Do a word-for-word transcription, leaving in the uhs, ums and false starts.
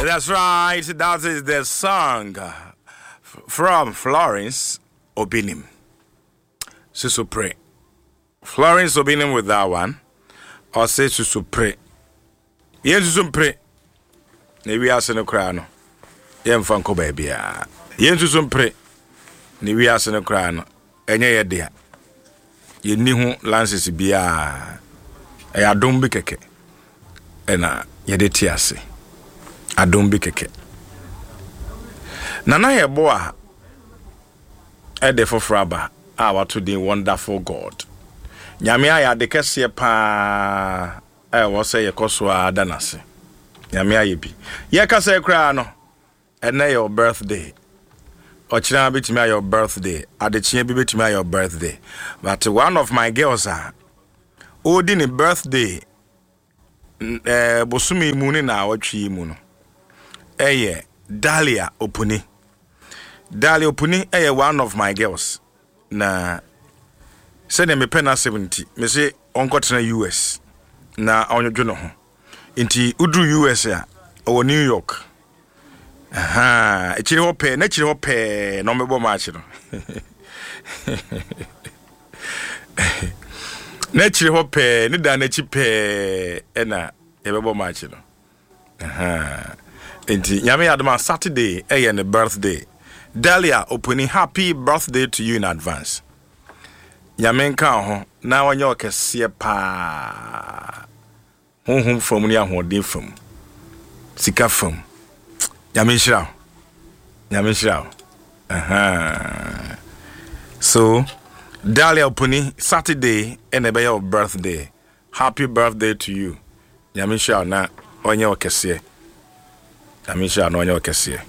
That's right. That is the song from Florence Obinim. Susupre. Florence Obinim with that one. Ɔse susupre. Yɛn susu mpre. Na wiase no koraa no, yɛmfa nkɔ baabiara. Yɛn susu mpre. Na wiase no koraa no, ɛnyɛ yɛ dea. Yɛnni ho license biara. Ɛyɛ adom bi kɛkɛ. Ɛna yɛde te ase. Adom bi kɛkɛ. Nana yɛbɔ a ɛde foforɔ aba a wato din Wonderful God. Nyame ayɛ ade kɛseɛ paa a ɛwɔ sɛ yɛkɔ so a da n'ase. Nyame ayɛ bi. Yɛkasa koraa no, ɛnɛ yɛ wo birthday. Ɔkyena bɛtumi ayɛ wo birthday. Adekyeɛ bi bɛtumi ayɛ wo birthday. But one of my girls a ɔredi ne birthday ɛɛ bosome mu ne naawɔtwe yi mu no, ɛyɛ Dahlia Opuni. Dahlia Opuni ɛyɛ one of my girls. Na sɛdeɛ mepɛ n'asɛm nti, mese ɔnkɔtena U S na ɔnwodwo ne ho. Nti woduru U S a, ɔwɔ New York. Ahaa, akyire hɔ pɛɛ, n'akyire hɔ pɛɛ na ɔmbɛbɔ match no. N'akyire hɔ pɛɛ, ne dan n'akyi pɛɛ ɛna yɛbɛbɔ match no. Ahaa. Nti Nyame yɛ adom a, Saturday ɛyɛ ne birthday. Dahlia Opuni, happy birthday to you in advance. Nyame nka wo ho na ɔnyɛ ɔkɛseɛ paa. Honhom fam ne ahoɔden fam. Sika fam. Nyame nhyira wo. Nyame nhyira wo. Ahaa. So, Dahlia Opuni, Saturday ɛna ɛbɛyɛ wo birthday. Happy birthday to you. Nyame nhyira wo na ɔnyɛ ɔkɛseɛ. Nyame nhyira wo na ɔnyɛ ɔkɛseɛ.